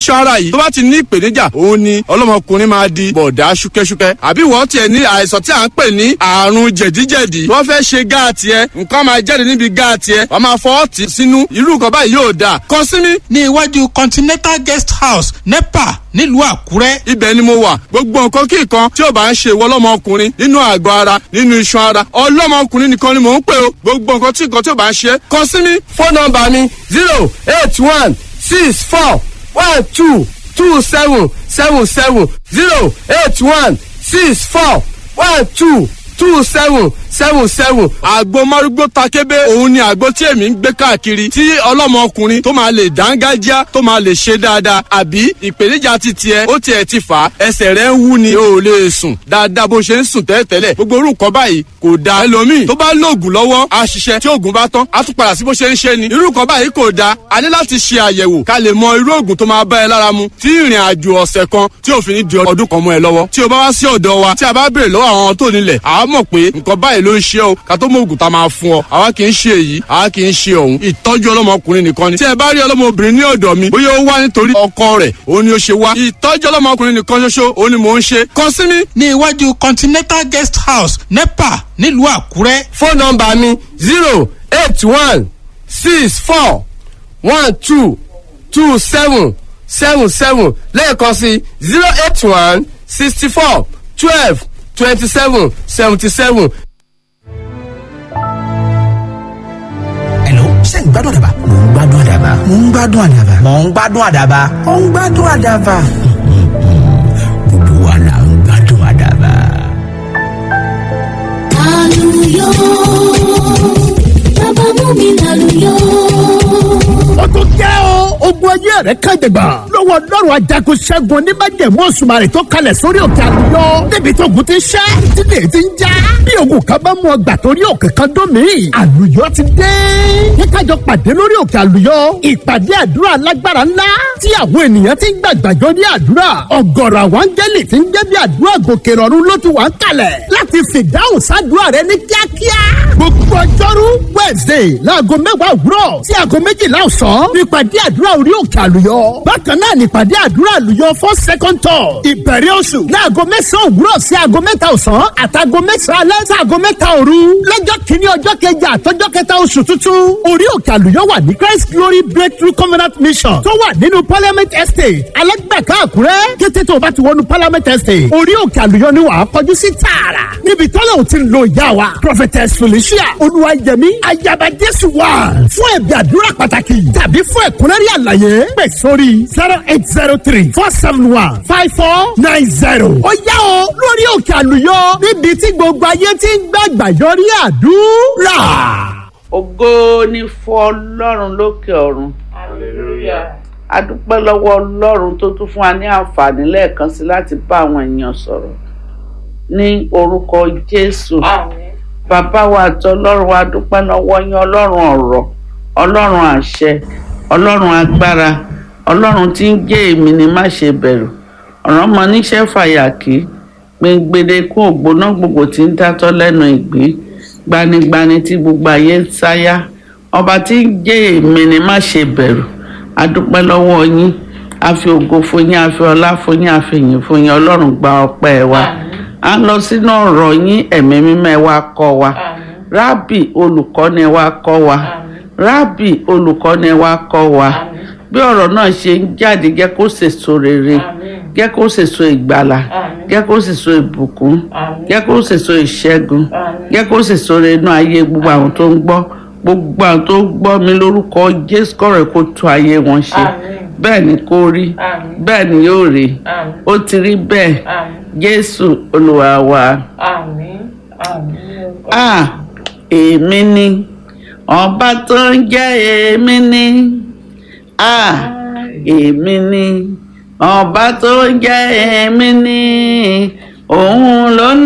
Iṣan ara yìí tó bá ti ní ìpèníjà, òun ni ọlọ́mọkùnrin máa di bọ̀dá ṣúkẹ́ṣúkẹ́, àbí wọ́n tiẹ̀ ní àìsàn tí à ń pè ní àrùn jẹ̀díjẹ̀dí. Wọ́n fẹ́ ṣe gáàtì ẹ, nǹkan máa jáde níbi gáàtì ẹ, wọ́n máa fọwọ́ tì sínú. Irú nǹkan báyìí yóò dáa. Kàn sí mi. Ní iwájú Continental Guest House, NEPA, nílùú Àkúrẹ́. Ibẹ̀ ni mo wà. Gbogbo nǹkan kí nǹkan tí ò bá ń ṣe ìwọ ọlọ́mọkùnrin nínú àgọ́ ara, nínú iṣan ara, ọlọ́mọkùnrin nìkan ni mò ń pè o. Gbogbo nǹkan tí nǹkan tí ò bá ń ṣe, kàn sí mi. Fóònù nọ́mbà mi: 08164122777, 08164122777. Àgbo márúgbó takébé, òun ni àgbo tí èmi ń gbé káàkiri, tí ọlọ́mọkùnrin tó máa lè dángájá, tó máa lè ṣe dáadáa. Àbí ìpèníjà ti tiẹ̀, ó tiẹ̀ ti fà á, ẹsẹ̀ rẹ̀ ń wú ni, o ò lè sùn dáadáa bó ṣe ń sùn tẹ́lẹ̀tẹ́lẹ̀. Gbogbo orú nǹkan báyìí kò dáa. Ẹlòmíì tó bá lóògùn lọ́wọ́, á ṣiṣẹ́. Tí oògùn bá tán, á tún padà sí bó ṣe ń ṣe ni. Irú nǹkan báyìí kò dáa. A ní láti ṣe àyẹ̀wò ká lè mọ irú oògùn tó máa bá ẹ lára mu, tí ìrìn àjò ọ̀sẹ̀ kan tí òfin ní di ọdún kan mọ́ ẹ lọ́wọ́. Tí o bá wá sí ọ̀dọ̀ wa, tí a bá béèrè lọ́wọ́ àwọn tó nílẹ̀, àá mọ̀ pé nǹkan báyìí ló ń ṣe o, ká tó mọ òògùn tá a máa fún ọ. Àwa kì í ṣe èyí, àwa kì í ṣe òun. Ìtọ́jú ọlọ́mọkùnrin nìkan ni. Tí ẹ bá rí ọlọ́mọbìnrin ní ọ̀dọ̀ mi, bóyá ó wá nítorí ọkọ rẹ̀ òun ni ó ṣe wá, ìtọ́jú ọlọ́mọkùnrin nìkan ṣoṣo òun ni mò ń ṣe. Kàn sí mi. Ní iwájú Continental Guest House, NEPA, nílùú Àkúrẹ́. Fóònù nọ́mbà mi: 08164122777. Lẹ́ẹ̀kan sí: 08164122777. Hello, ṣé ń gbádùn àdàbà? Mò ń gbádùn àdàbà. Mò ń gbádùn àdàbà. Mò ń gbádùn àdàbà. Mò ń gbádùn àdàbà. Gbogbo wa là ń gbádùn àdàbà. Àlùyọ, bàbá mú mi lálùyọ. Ó tún jẹ́ o. Ogun ayé rẹ̀ kan jẹ̀gbà lọ́wọ́ Ọlọ́run ajagun ṣẹ́gun oníbàjẹ́mú Òṣùmàrè tó kalẹ̀ sórí òkè àlùyọ. Níbi tó ogun ti ń ṣẹ́, tílé ti ń já. Bí ogun kan bá mú ọgbà torí òkè kan dún mí, àlùyọ ti dé. Kíkájọ pàdé lórí òkè àlùyọ. Ìpàdé àdúrà alágbára ńlá tí àwọn ènìyàn ti ń gbàgbàjọ ní àdúrà. Ọ̀gọ̀rọ̀ àwọn áńgẹ́lì ti ń jẹ́ bí àdúrà gòkè rọ̀rùn ló ti wà ń kalẹ̀ láti fìdáhùn sádùúrà rẹ ní kíákíá. Gbogbo ọjọ́rú Wednesday láago 10 òwúrọ̀ sí aago 12 ọ̀sán nípàdé àdúrà orí òkè àlùyọ. Bákan náà nípàdé àdúrà àlùyọ fún second tour ìbẹ̀rẹ̀ oṣù láago 9 òwúrọ̀ sí aago 3 ọ̀sán àtàgo 9 alẹ́ sí aago 3 òru lọ́jọ́ kìíní, ọjọ́ kejì, àtọjọ́ kẹta oṣù tuntun. Orí òkè àlùyọ wà ní Christ Glory Breakthrough Covenant Mission tó wà nínú Parliament Estate, Alágbàká, Àkúrẹ́. Kété tó o bá ti wọnú Parliament Estate, orí òkè àlùyọ ni wàá kọjú sí tààrà, níbi tọ́lá ò ti lo ìyá wa Prophetess Felicia Olúwayẹmí Ayaba Jésù wà. Fún ẹ̀bí àdúrà pàtàkì tàbí fún ẹ̀kúnrẹ́rẹ́ àlàyé, pè sórí 08034715490. Ó yá o, lórí òkè àlùyọ, níbi tí gbogbo ayé ti ń gbàgbà yọrí àdúrà. Ògo ni fún Ọlọ́run lókè ọ̀run. A dúpẹ́ lọ́wọ́ Ọlọ́run tó tún fún wa ní àǹfààní lẹ́ẹ̀kan sí láti bá àwọn èèyàn sọ̀rọ̀ ní orúkọ Jésù. Bàbá wa àti Ọlọ́run wa, dúpẹ́ lọ́wọ́ yín, Ọlọ́run ọ̀rọ̀, Ọlọ́run àṣẹ, Ọlọ́run agbára, Ọlọ́run tí ń jẹ́ èmi ni má ṣe bẹ̀rù, ọ̀ràn mọ níṣẹ́ fàyàkì gbẹngbẹdẹkùn ògbóná gbogbo tí ń dátọ́ lẹ́nu ìgbín, gbanigbani tí gbogbo ayé ń sáyà, ọba tí ń jẹ́ èmi ni má ṣe bẹ̀rù. A dúpẹ́ lọ́wọ́ yín, a fi ògo fún yín, a fi ọlá fún yín, a fi ìyìn fún yín. Ọlọ́run, gba ọpẹ́ wa. A ń lọ sínú ọ̀rọ̀ yín. Ẹ̀mí mímọ́, ẹ wá kọ́ wa. Rábì olùkọ́ni, ẹ wá kọ́ wa. Rábì olùkọ́ni, ẹ wá kọ́ wa. Bí ọ̀rọ̀ náà ṣe ń jáde, jẹ́ kó sèso rere, jẹ́ kó sèso ìgbàlà, jẹ́ kó sèso ìbùkún, jẹ́ kó sèso ìṣẹ́gun, jẹ́ kó sèso rere inú ayé gbogbo àwọn tó ń gbọ́, gbogbo àwọn tó ń gbọ́ mi lórúkọ Jésù. Kọ̀rọ̀ kó tún ayé wọn ṣe. Bẹ́ẹ̀ ni kó rí, bẹ́ẹ̀ ni yóò rí, ó ti rí bẹ́ẹ̀. Jésù Olúwa wa. Ah, èmi ni ọba tó ń jẹ́ èmi ni. Ah, èmi ni ọba tó ń jẹ́ èmi ni, òun ló ní.